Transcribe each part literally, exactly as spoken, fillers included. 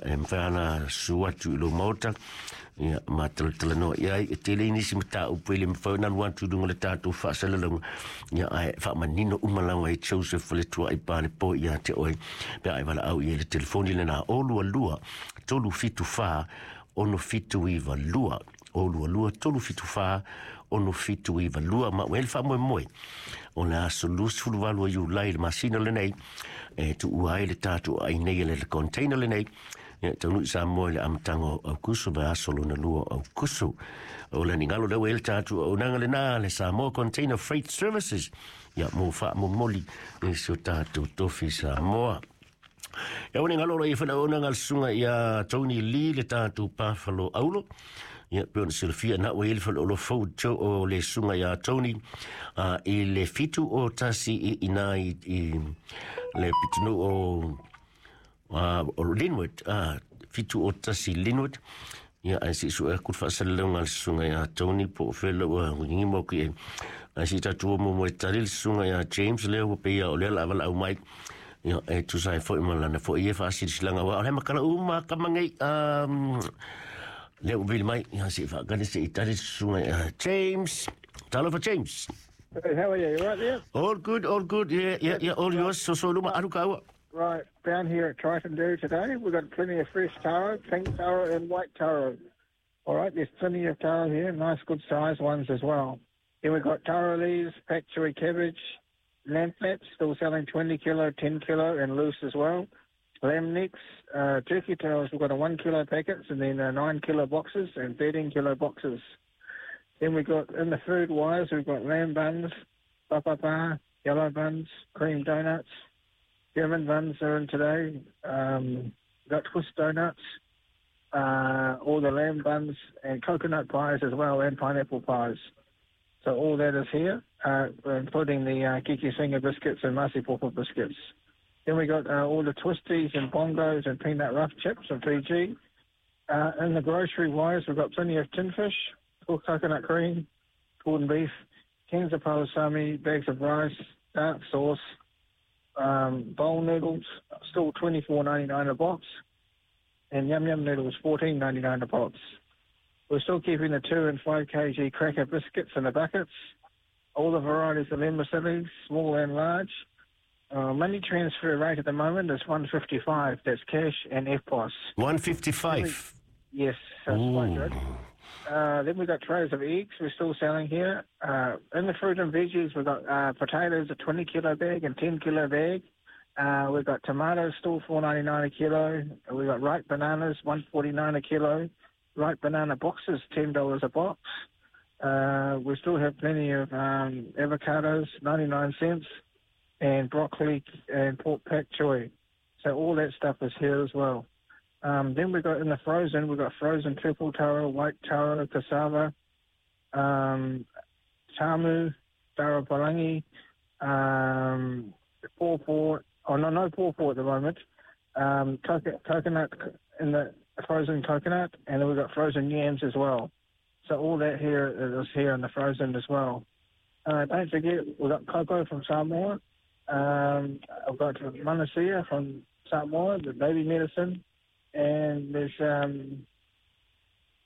E mafai ona susu atu i lou maota, ia, ma talatalanoa i ai. E tele nisi mataupu e le mafai ona alu atu i luga o le tatou faasalalauga, ia, ae faamanino uma lava e Joseph Faletuai Palepo ia te oe pe a e valaau i ai. Le telefoni lena, o lua lua tolu fitu fa ono fitu iwa lua, o lua lua tolu fitu fa ono fitu iwa lua. Ma ua ele faamoemoe o le aso luasefulu valu o Iulai, le masina lenei, e tuua ai le tatou ai nei le container lenei, ia taunuu i Samoa i le amataga o Aukuso, vaiaso lona lua o Aukuso. O le nigalo lea ua i ai le tatou auaunaga lena, le Samoa Container Freight Services, ia, mo faamomoli i si o tatou tofi Samoa. Ia ua galo ia fana ona ngal sunga ia Tony Lee, le tatou pafalo aulo. Ia pe ona silafia na ua i le faleoloa fou o le susuga ia Tony uh, i le fitu o tasi i ina i, i le pitonuu o uh, o Linwood, uh, fitu o tasi Linwood. Ia, ae se i sue aku le faasalalauga a le susuga ia Tony po o fela ua gigima o ki e. Ae se i tatou o mo e tali le susuga ia James lea ua peia o lea la valaau mai. Ia, e tusa ai foi ma lana foi e faasilasilaga aua o le makala uma kamangei um, lea ua vili mai. Ia, se i faakale se i tali le susuga ia James. Talofa, James. Hey, how are you? You right there? All good, all good. Yeah, yeah, yeah, all yours. So, so luma, alu kaua. Right, down here at Triton Dairy today, we've got plenty of fresh taro, pink taro and white taro. All right, there's plenty of taro here, nice good sized ones as well. Then we've got taro leaves, pak choi cabbage, lamb flaps, still selling twenty kilo, ten kilo and loose as well. Lamb necks, uh, turkey tails, we've got a one kilo packets and then uh, nine kilo boxes and thirteen kilo boxes. Then we've got, in the food wise, we've got lamb buns, papa, yellow buns, cream donuts, German buns are in today. Um, we've got twist donuts, uh, all the lamb buns and coconut pies as well, and pineapple pies. So all that is here, uh, including the uh, Kiki Singer biscuits and Masi Popo biscuits. Then we got uh, all the twisties and bongos and peanut rough chips and Fiji. Uh, in the grocery wise, we've got plenty of tin fish, coconut cream, corned beef, cans of palusami, bags of rice, dark sauce, um, bowl noodles, still twenty four ninety nine a box, and yum yum noodles fourteen ninety nine a box. We're still keeping the two and five kg cracker biscuits in the buckets. All the varieties of vermicelli, small and large. Uh, money transfer rate at the moment is one fifty five. That's cash and E F P O S. one fifty-five. Yes, that's quite good. Uh, then we've got trays of eggs we're still selling here. Uh, in the fruit and veggies, we've got uh, potatoes, a twenty kilo bag and ten kilo bag. Uh, we've got tomatoes still four ninety nine a kilo. We've got ripe bananas, one forty nine a kilo. Ripe banana boxes, ten dollars a box. Uh, we still have plenty of um, avocados, ninety nine cents, and broccoli and pork pak choi. So all that stuff is here as well. Um, then we've got in the frozen, we've got frozen purple taro, white taro, cassava, um, tamu, taro palangi, um, pawpaw, oh no, no pawpaw at the moment, um, coco- coconut in the frozen coconut, and then we've got frozen yams as well. So all that here is here in the frozen as well. Uh, don't forget, we've got cocoa from Samoa. Um, I've got Manasia from Samoa, the baby medicine. And there's um,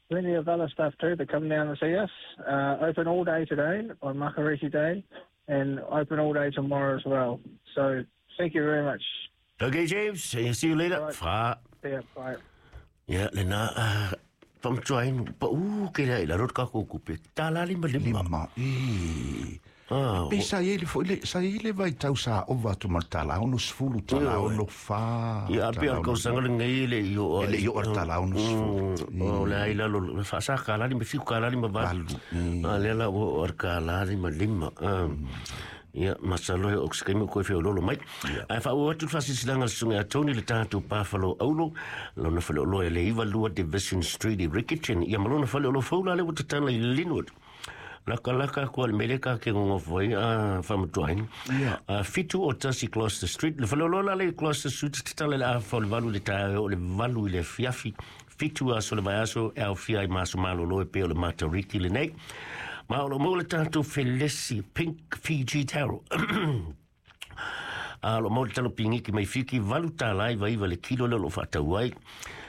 plenty of other stuff too that come down and see us. Uh, open all day today on Makariki Day and open all day tomorrow as well. So thank you very much. Okay, James. See you later. Right. Fra. See ya. Bye. Ia, lena, uh, faamatauina, pau ke lea i lalo le tatou tupe, tala lima lima. Lima. E. Ah, Pe sa i le foi le sa i le vai tau sa ova atu ma le tala ono sefulu, tala Ioe. ono fa. Ia, pe o le tausaga lenei le i o E le i oo le tala ono sefulu. O le ai lalo le faasa kalā lima fitu, kalā lima valu. Valu, mm. A lea la ua oo i le kalā lima lima. Ah. Ia, masalo e o se kaimi o koe feoloolo mai. Ae faaauau atu le faasilasilaga a le susuga ia Tony, le tatou pafalo aulo, lona faleoloa e le iva lua Division Street i Riccarton. Ia ma lona faleoloa fou la lea ua tatala i Linwood. Lakalaka aku ale mele ka ke ngongofo ai a faamatauina. Ia. A fitu o tasi Gloucester Street. Le faleoloa la le Gloucester Street tatala le afa o le valu i le taeao o le valu i le afiafi. Fitu aso le vaiaso e aofia ai ma aso malolo e pei o le Matariki lenei. Ma o lo maua le tatou felesi pink Fiji taro. A lo maua le talo pingiki mai Fiti, valu tala iva iva le kilo lea o lo o faatau ai.